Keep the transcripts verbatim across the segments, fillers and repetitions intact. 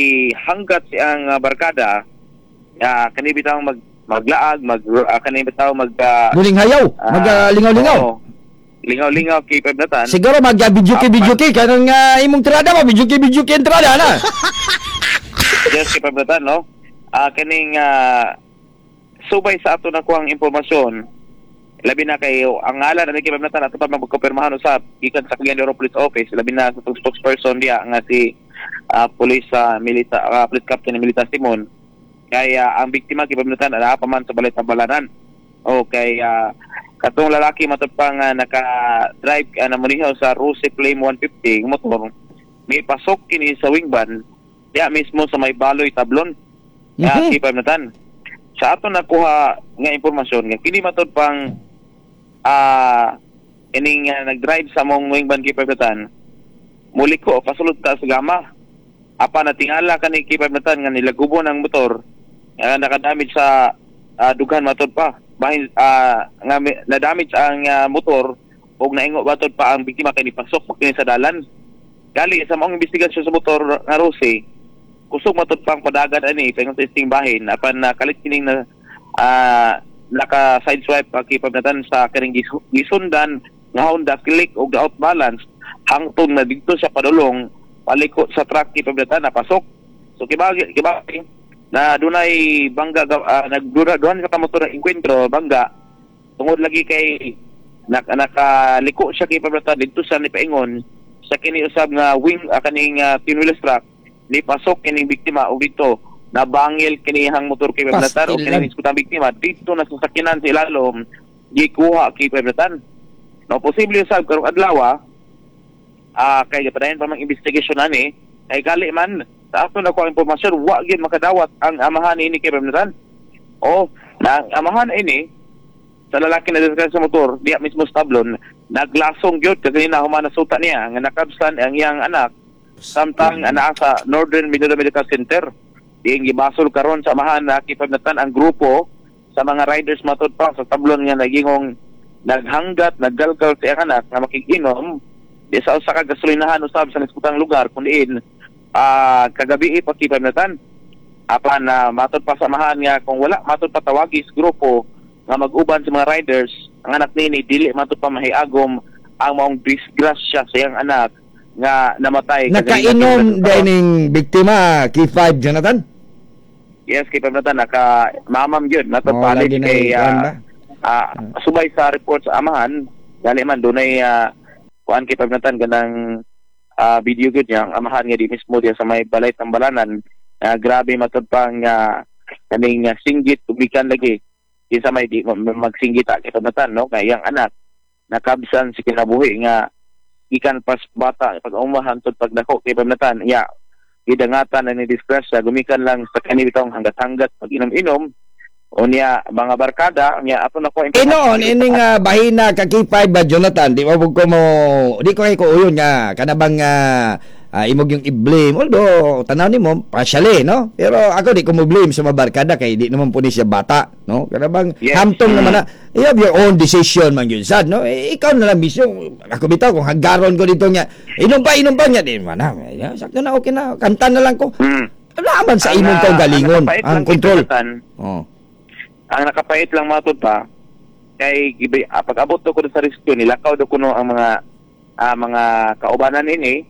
gihanggat siyang uh, barkada, uh, kani bitaw mag maglaag, mag uh, kani bitaw mag uh, Muling hayaw, ah, mag ah, lingaw-lingaw. oo. Lingaw-lingaw kay Pabnatan. Siguro mag uh, video video kanang uh, imong tirada mo, video video ang tirada na. Yes, kay Pabnatan, no? Ah, kaning ah, subay sa ato nakuhang impormasyon, labi na kay ang ngalan ani kay Pabnatan, ato pa magkumpirmahan usab gikan sa Cagayan de Oro Police Office, labi na sa atong spokesperson diya nga si ah, Police ah, Milita ah, Police Captain Milita Simon. Kay ah, ang biktima kay Pabnatan naa pa man sa balay Tambalanan. O kay ah, katong lalaki matud pa nga naka-drive uh, na munihaw sa Rusi Flame one fifty motor, may pasok kini sa wing van diya mismo sa may Baloy, Tablon. Mhm. Mm -hmm. Sa ato nakuha nga impormasyon nga kini matud pang ah ining uh, nag-drive sa mong wing van kay Pabnatan, muliko pasulod ta sa gama. Apa natingala kani kay Pabnatan nga nilagubon ang motor nga nakadamage sa ah, dughan matud pa bahin ah, nga mi- na-damage ang ah, motor ug naingo matud pa ang biktima kay nipasok pa kini sa dalan. Gali sa maong investigasyon sa motor nga Rose, kusog matud pang padagan ani paingon sa isting bahin, apan nakalit kining na ah, naka side swipe pa kay Pabnatan sa kining gisu- gisundan nga Honda Click og out balance hangtod na didto siya padulong paliko sa truck kay Pabnatan, napasok. So kibagi kibagi na dunay bangga, uh, nagdura duhan ka motor ng engkwentro, bangga, tungod lagi kay nak nakaliko siya kay Pabnatan didto sa nipaingon sa kini usab nga wing uh, kaning uh, twin truck, ni pasok kining biktima og dito nabangil kinihang motor kay Pabnatan o Pastilan. Kining iskutang biktima dito na sasakyanan sa ilalom, gikuha kay Pabnatan, no? Posible usab karong adlaw, ah kay padayon pa mang investigation ani, kay gali man sa ato nakuha impormasyon, wa gyud makadawat ang amahan ini kay Pabnatan. O na ang amahan ini sa lalaki na diskarte sa motor diya mismo sa Tablon, naglasong gyud kaganina human nasuta niya nga nakabsan ang iyang anak samtang anaa sa Northern Mindanao Medical Center. Diing gibasol karon sa amahan na kipabnatan ang grupo sa mga riders matud pa sa Tablon nga nagingong naghanggat, naggalgal sa iyang anak nga makikinom di sa usa ka gasolinahan usab sa niskutang lugar kun diin ah kagabi pa kipabnatan. Apan na matod pa sa amahan nga kung wala matod pa tawagi sa grupo nga mag-uban sa mga riders ang anak nini, dili matod pa mahiagom ang maong disgrasya sa iyang anak nga namatay. Nakainom din ning biktima, K five Jonathan? Yes, kay Pabnatan, naka mamam gyud nato Oh, palit lagi na kay kuwan ah, ba? ah, subay sa report sa amahan, gali man dunay uh, kuan kay Pabnatan, ganang ah, video gyud niya ang amahan nga di mismo diya sa may balay Tambalanan. Ah, grabe matud pang uh, kaning uh, singgit tubikan lagi kinsa may di ma- ma- magsinggita kay Pabnatan, no, kay iyang anak nakabsan si kinabuhi nga gikan pas bata pag umahan tud pagdako kay Pabnatan ya gidangatan na ni disgrasya gumikan lang sa kanitong hanggat-hanggat pag inom-inom unya mga barkada niya ato na ko. Inoon ining uh, bahina ka K five ba, Jonathan, di ba ko mo di ko kay ko uyon nga kana bang uh, uh, imog yung i-blame, although tanaw nimo partially, no, pero ako di ko mo blame sa mga barkada kay di naman po ni siya bata, no, kana bang Yes. hamtong naman na you have your own decision man yun sad, no? Eh, ikaw na lang mismo. Ako bitaw kung hanggaron ko dito nga inom pa, inom pa niya, di man na eh, sakto na, okay na, kanta na lang ko. Mm. Wala man sa Ang, imong ah, kaugalingon ang nakapait ang lang, control. Jonathan, Oh. ang nakapait lang matud pa kay gibi- ah, pag-abot do ko sa rescue, nilakaw do kuno ang mga ah, mga kaubanan ini,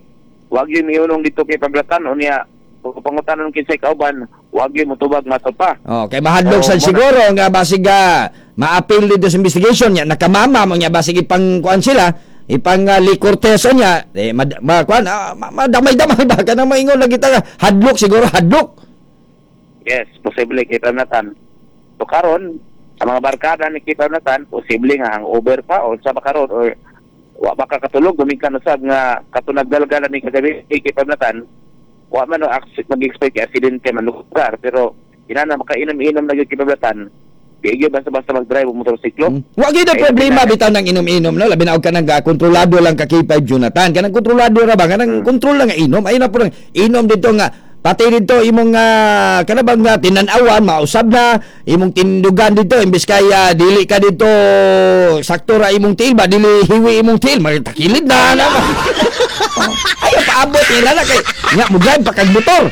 wag yun miulong dito kay Pablatan. Unya kung pangutanon kinsay kauban, wag yun motubag matud pa. Oh, kay mahadlok Oo, sad muna. siguro nga basig ah, ma-appeal dito sa investigation niya, nakamama mo niya, basig ipang kuan sila, ipang uh, liquor test niya, eh mad, ma, kuan ah, ma, madamay-damay ba kanang maingon lagi ta, hadlok siguro, hadlok. Yes, posible kay Pamnatan. So karon, ang mga barkada ni kay Pamnatan, posible nga hangover pa o sa karon or wa ba ka katulog gumikan usab nga katunagdalgala ni kagabi kay Pamnatan, wa man no mag-expect kay aksidente man lugar, pero inana makainom-inom na gyud kay Pamnatan. Di gyud basta-basta mag-drive og motorsiklo. Hmm. Wa gyud ang Kay problema labi na- bitaw ng inom-inom, no, labi na og kanang ah, kontrolado lang ka K five Jonathan, kanang kontrolado ra ba, kanang Hmm. kontrol lang nga inom, ay na po lang inom dito nga pati dito imong uh, kana bang uh, tinan-awan mausab na imong tindugan dito, imbes kay ah, dili ka dito sakto ra imong tiil ba, dili hiwi imong tiil, magtakilid na na. Oh, ay paabot nila na kay nga mo drive pa kag motor.